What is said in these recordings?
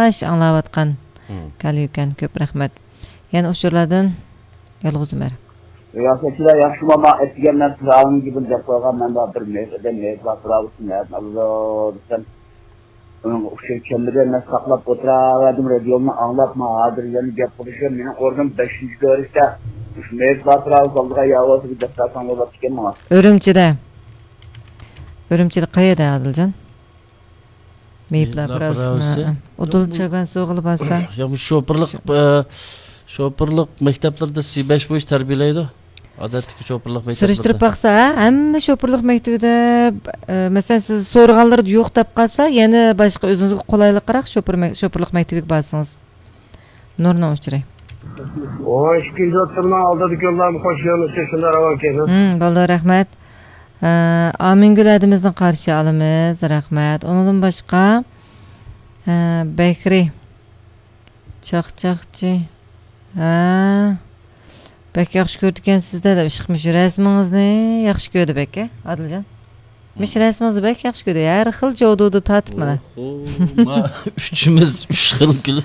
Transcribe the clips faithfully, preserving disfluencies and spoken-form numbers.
ياخشى ئاڭلاۋاتقان كالىيۇكەن. كۆپ رەھمەت. يەنە ئۇچۇرلاردىن يالغۇز ئۆمەر. رىياسەتچىلەر ياخشىمۇ؟ ماڭا ئەتىگەن مەن پىرئاۋنىڭ گېپىنى دەپ قويغان، مەن بار بىر مېيىپ ئادەم، مېيىپ بار پىرئاۋ ئۈستىنى نەدىن ئالىدۇ دېسەم، ئۇنىڭغا ئۇچۇر كەلمىدى. مەن ساقلاپ ئولتۇرۇۋەردىم رادىيومنى ئاڭلاپ، مانا ھازىر يەنە گەپ قىلىشىم. مېنىڭ ئورنۇم بەشىنچى كۆرۈشتە. مۇشۇ مېيىپ بار پىرئاۋ ئالدىغا يا بولسا بىر دەپ بەرسەڭ بولاتتىكەن ماڭا. ئۈرۈمچىدە. ئۈرۈمچىدە قەيەردە، ئادىلجان؟ مېيىپلار مېيىپلار پىراۋىسىنى، پىراۋىسى. ھە. ئۇدۇل چۆگەن سوغىلى بارسا. يا، بۇ شوپۇرلۇق، شو- ئە، شوپۇرلۇق مەكتەپلىرىدە سى بەش بويىچە تەربىيەلەيدۇ. ئادەتتىكى شوپۇرلۇق مەكتەپلىرىدە. سۈرۈشتۈرۈپ باقسا، ھە، ھەممە شوپۇرلۇق مەكتىۋىدە، ئە، مەسىلەن، سىز سورىغانلىرىدا يوق دەپ قالسا، يەنە باشقا ئۆزىڭىزگە قولايلىقراق شوپۇر مەك-، شوپۇرلۇق مەكتىۋىگە بارسىڭىز. نۇرنىڭ ئۇچۇرى. ئون ئىككىنچى ئوتتۇرىنىڭ ئالدىدىكى يوللارمۇ قوشۇلۇش ئۈچۈن شۇنداق راۋان كەينىڭ. ھىم، بولدى، رەھمەت. ئە، ئامىنگۈل ھەدىمىزنى قارشى ئالىمىز، رەھمەت. ئۇنىڭدىن باشقا، ئە، بەكرى. چاقچاقچى. ھە. بەك ياخشى كۆرىدىكەنسىز-دە دەپ ئىشقىمىش رەسىمىڭىزنى ياخشى كۆردى بەك، ھە، ئادىلجان؟ مىش رەسىمىڭىزنى بەك ياخشى كۆردى. ھەر خىل جودۇدا تارتىپ مانا. ئوھو، ما، ئۈچىمىز ئۈچ خىل كۈل.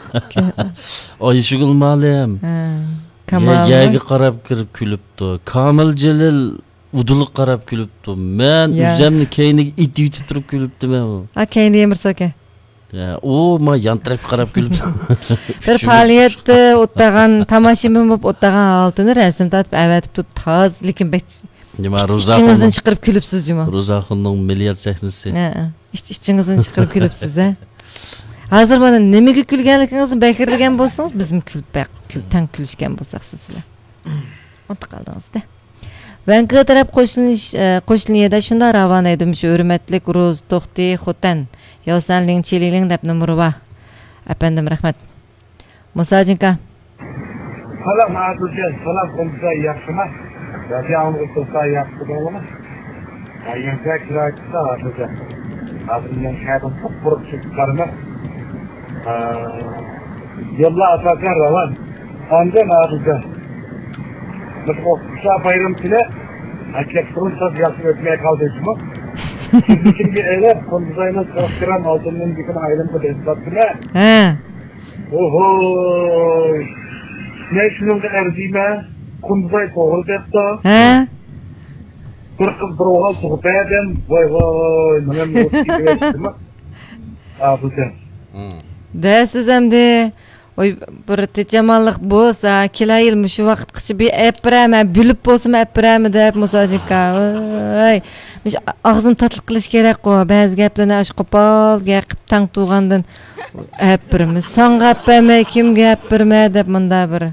ئايشىگۈل مالىم. ھە. يە-، كامالمۇ؟ يەرگە قاراپ كىرىپ كۈلۈپتۇ. كامىل جېلىل ئۇدۇلغا قاراپ كۈلۈپتۇ. مەن يا. ئۆزەمنى كەينىگە ئېتىۋېتىپ تۇرۇپ كۈلۈپتىمەن. ھا، كەينىدە يەنە بىرسى باركەن. يا، ئۇ ما يان تەرەپكە قاراپ كۈلۈپتۇ. بىر ئۈچىمىز. پائالىيەتتە ئولتۇرغان، تاماشىبىن بولۇپ ئولتۇرغان ھالىتىنى رەسىم تارتىپ ئەۋەتىپتۇ. تازا، لېكىن بەك، تاز، لېكىن بەك ئىچ-، ئىچىڭىزدىن چىقىرىپ كۈلۈپسىز جۇمۇ. روزاخۇننىڭ مىليارد سەھنىسى. ھە، ھە. ئىچ-، ئىچىڭىزدىن چىقىرىپ كۈلۈپسىز، ھە. ھازىر مانا نېمىگە كۈلگەنلىكىڭىزنى بەكرىلىگەن بولسىڭىز، بىزمۇ كۈلۈپ بەك-، كۈل-، تەڭ كۈلۈشكەن بولساق سىز بىلەن. ئۇنتۇپ قالدىڭىز-دە. ۋەنكۇۋېر تەرەپ قوشلىنىش، ئە، قوشلىنىيەدە شۇنداق راۋان ھەيدىمىش، ھۆرمەتلىك روز توختى خوتەن، ياۋسەن لىڭ چى لىڭ لىڭ دەپ نومۇرى بار. ئەپەندىم، رەھمەت. مۇساجىنكا. سالام، ئادىلجان. سالام، قۇمسا ياخشىما؟ رادىيو ئاڭلىغۇچى دوستلار ياخشى تۇردۇڭلارمۇ؟ ھە، يەنە كىرايە چىقسا، ئادىلجان. ھازىر مەن شەھەردىن قۇرۇق چىقىپ بارىمەن. ھە، يوللار ئاساسەن راۋان. ئاندىن ئادىلجان. مۇشۇ ئوقۇتقۇچىلار بايرىمى كۈنى، ھەقىقەتەن تاز ياخشى ئۆتمەي قالدى شۇمۇ. سىزنى كىمگە ئېلىپ، قۇندۇزاينىڭ چاقچىرام ئالتۇندىن بېكىنىڭ ئايلىنىپ ئۆتۈۋاتىمەن. ھە. ئوھوي. مەن شۇنىڭغا ئەرزىيمەن. قۇندۇزاي توغرا دەپتۇ. ھە. بىر قىز بىر ئوغۇل تۇغۇپ بەردىم. ۋاي ۋاي، مانا مۇشۇ كېتىۋەتتىمۇ. ئابۇجان. دەسىز ئەمدى. ئوي، بىر تىجامانلىق بولسا، كېلەر يىل مۇشۇ ۋاقىتقىچە بىر ئەپ بېرەمەن، بىلىپ بولسىمۇ ئەپ بېرەمەن دەپ، مۇساجىكا. ۋاي. مۇشۇ ئاغزىنى تاتلىق قىلىش كېرەققۇ. بەزى گەپلەرنى ئاشۇ قوپال گەپ قىپ تەڭ تۇرغاندىن ئەپ بېرىمىز. ساڭا ئەپ بەرمەي، كىمگە ئەپ بېرىمەن دەپ مۇندا بىر.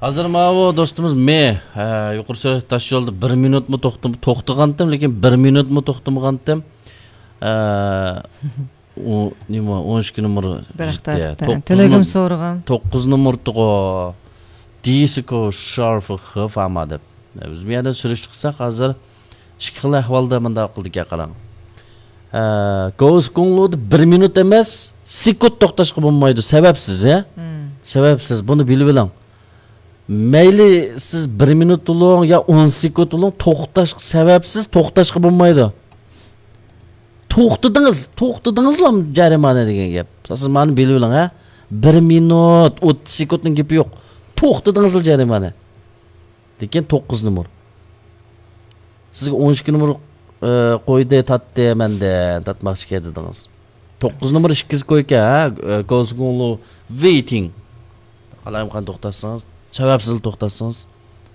ھازىر ماۋۇ دوستىمىز مې، ھە، يۇقىرى سۈرئەتلىك تاش يولدا بىر مىنۇتمۇ توختىم-، توختىغانتىم، لېكىن بىر مىنۇتمۇ توختىمىغانتىم. ھە، ئۇ نېمە، ئون ئىككى نومۇر بىراق يېتتى. تارتىپتە. توققۇز تۈنۈگۈن نوم-، سورىغان. توققۇز نومۇرتىغۇ. دىسكو شارف خ فاما دەپ. بىز بۇ يەردە سۈرۈشتە قىلساق، ھازىر ئىككى خىل ئەھۋالدا مۇنداق قىلدىكەن، قاراڭ. ھە، گوسكوڭلۇدا بىر مىنۇت ئەمەس، سېكۇنت توختاشقا بولمايدۇ، سەۋەبسىز، ھە؟ سەۋەبسىز، بۇنى بىلىۋېلىڭ. مەيلى سىز بىر مىنۇت بولۇڭ يا ئون سېكۇنت بولۇڭ، توختاشقا سەۋەبسىز توختاشقا بولمايدۇ. توختىدىڭىز، توختىدىڭىزلا جەرىمانە دېگەن گەپ. سىز مانا بىلىۋېلىڭ، ھە؟ بىر مىنۇت، ئوتتۇز سېكۇنتنىڭ گېپى يوق. توختىدىڭىزلا جەرىمانە. لېكىن توققۇز نومۇر. سىزگە ئون ئىككى نومۇر، ئە، قويدى، تارتتى، مەندە تارتماقچىكەن دېدىڭىز. توققۇز نومۇر ئىككىز كويكەن، ھە؟ ئە، گوسكوڭلۇ ۋېيتىڭ. قالايمىقان توختاتسىڭىز، سەۋەبسىز توختاتسىڭىز.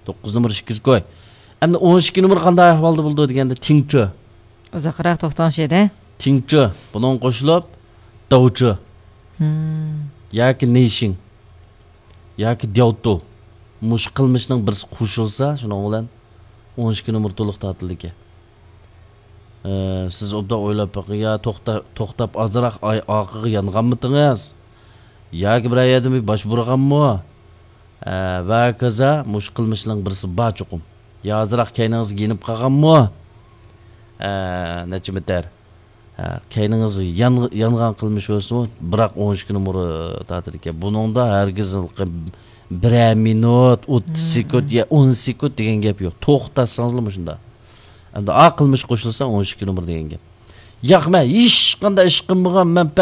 توققۇز نومۇر ئىككىز كوي. ئەمدى ئون ئىككى نومۇر قانداق ئەھۋالدا بولىدۇ دېگەندە، تىڭچۆ. ئۇزاقراق توختىغان شەيدە. تىڭچۆ، بۇنىڭغا قوشۇلۇپ، داۋچۆ. ياكى نېيشىڭ. ياكى دياۋتۇ. مۇشۇ قىلمىشنىڭ بىرسى قوشۇلسا، شۇنىڭ بىلەن ئون ئىككى نومۇر تولۇق تارتىلىدىكەن. ئە، سىز ئوبدان ئويلاپ بېقىڭ، يا توختا-، توختاپ ئازراق ئاي-، ئارقىغا يانغانمىتىڭىز؟ ياكى بىرەر يەردىن بىر باش بۇرغانمۇ؟ ئە، ۋە ھاكازا مۇشۇ قىلمىشنىڭ بىرسى بار چوقۇم. يا ئازراق كەينىڭىزگە يېنىپ قالغانمۇ؟ ئە، نەچچە مېتىر؟ ھە، كەينىڭىز يان-، يانغان قىلمىش بولسىمۇ، بىراق ئون ئىككى نومۇر تارتىدىكەن. بۇنىڭدا ھەرگىز بىرەر مىنۇت، ئوتتۇز سېكۇنت يا ئون سېكۇنت دېگەن گەپ يوق. توختاتسىڭىزلا مۇشۇنداق. ئەمدى ئا قىلمىش قوشۇلسا ئون ئىككى نومۇر دېگەن گەپ. ياق، مەن ھېچقانداق ئىش قىلمىغان، مەن